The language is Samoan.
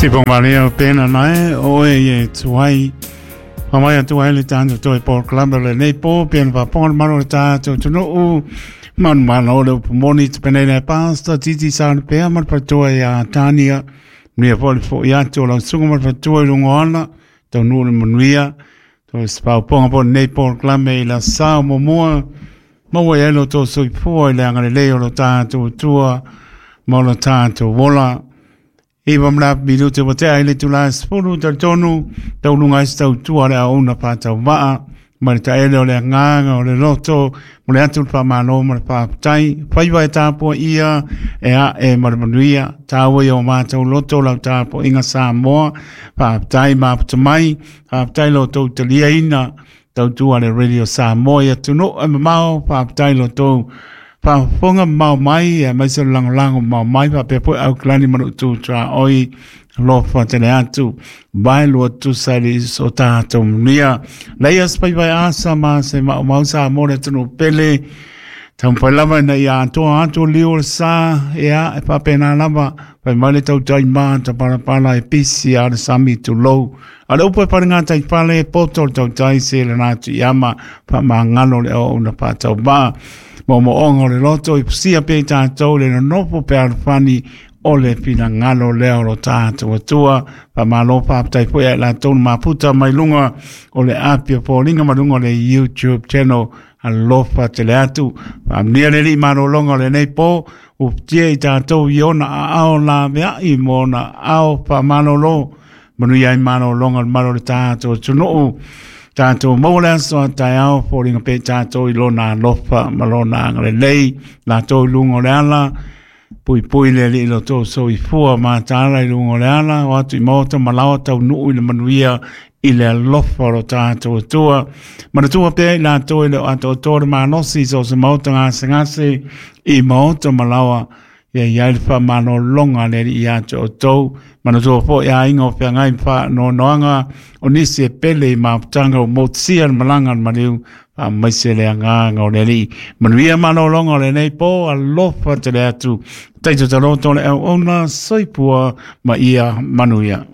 Sipo Maria pena nae o e ye tuai. Pamai atu ai le tātou toe polokalame o lenei po, pea na faafofoga le mamalu o le tātou atunuu. Manumalo o le upu moni te penei le pasta titi sa le pea ma le faletua ia Tania. Manuia foi le foi atu o lau susuga ma le faletua i luga o ala, taunuu le manuia. Toe faaopoga foi lenei polokalame i la sao muamua. Maua ai lo tou soifua i le agalelei o lo tātou Atua ma lo tātou ola. 9 ma le afa minute ua tea i le itula e 10, talitonu tauluga ai se tautua le auauna faatauvaa ma le taele o le agaga o le loto mo le atu le faamalo ma le faafetai. Faiva e tapuaia e ae ma le manuia, taua i o matou loto lau tapuaiga Samoa. Faafetai mafuta mai, faafetai lo outou taliaina tautua le Radio Samoa i atunuu e mamao. Faafetai lo outou faafofoga mamao mai, aemaise o le lagolago mamao mai, faapea foi Aukalani ma lou tuaoi alofa tele atu vai lua tusa i le o tatou manuia. Leia se faiva e asa ma se maumau Samoa le atunuu pele. Taumafai lava ina ia atoa atu liu o le sa, ia, e faapena lava, fai mai le tautai matapalapala e pisi a le sami tulou. A le upu e fale gatai fale, poto le tautai se lana atu i ama, faamagalo le auauna faatauvaa. Moomooga o le loto i fusia pea i tatou le nonofo pe alofani o le finagalo lea o lo tatou Atua. Faamalo faafetai foi ia i latou na mafuta mai luga o le api o foliga ma luga o le YouTube channel. Alofa tele atu. Faamanuia le Alii malologa o lenei po, ufitia i tatou i ona aao laveai ma ona aao faamalolo. Manuia ai malologa o le malu o le tatou atunuu. Tatou maua le aso a taeao, foliga pea i tatou i lona alofa ma lona agalelei. Latou i luga o le ala, puipui le Alii lo tou soifua mataala i luga o le ala, o atu i maota ma laoa taunuu i le manuia i le alofa o lo tatou Atua. Manatua pea i latou e le o atoatoa le malosi i so o se maota gasegase i maota ma laoa, ia i ai le faamalologa a le Alii ia te outou. Manatua foi aiga o feagai ma faanoanoaga o nisi e pele i mafutaga ua motusia le malaga a le maliu, faamaise le agaga o le Alii. Manuia malologa o lenei po, alofa tele atu. Taito taloto le auauna, soifua ma ia manuia.